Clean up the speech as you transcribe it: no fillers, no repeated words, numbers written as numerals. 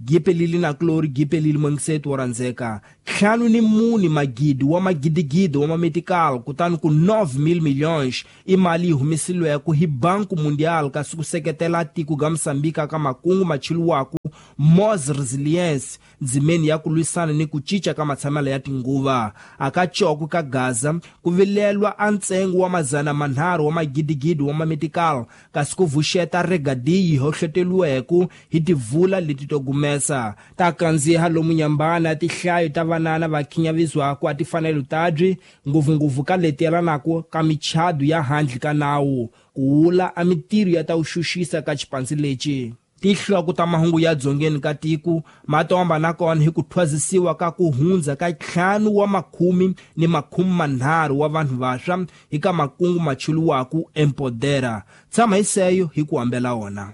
Gipelili na Glory Gipelili mwengisetu wo rhandzeka 54 magidi wa magidigidi wa mametical kutani ku 9,000 milhões i mali yi humesiliweke hi Banco Mundial kasi ku seketela tiko ga Moçambique ka makungu machiliwaku Mos Resilience ndzimeni ya ku lwisana ni ku cinca ka matshamelo ya tinguva. Aka coko ka Gaza ku vilelwa a ntsengo wa 300 wa magidigidi wa mametical kasi ku vuxeta regadi yi hohloteriweke hi tivula leti to gumesa ta kandziha lomu nyambana tihlayo ta vanana va khinyavizwaku a tifanelo tabyi ngopfungopfu ka leti yelanaka ka michado ya handle ka nawu ku wula a mitirho ya ta wuxuxisa ka xipandzi lexi. Tihloko ta mahungu ya dzongeni ka tiko ma tomba nakona hi ku thwazisiwa ka ku hundza ka 5 wa makhumi ni 30 wa vanhu vaswa hi ka makungu machuluwaku Empodera. Tshama hi seyo hi ku hambela wona.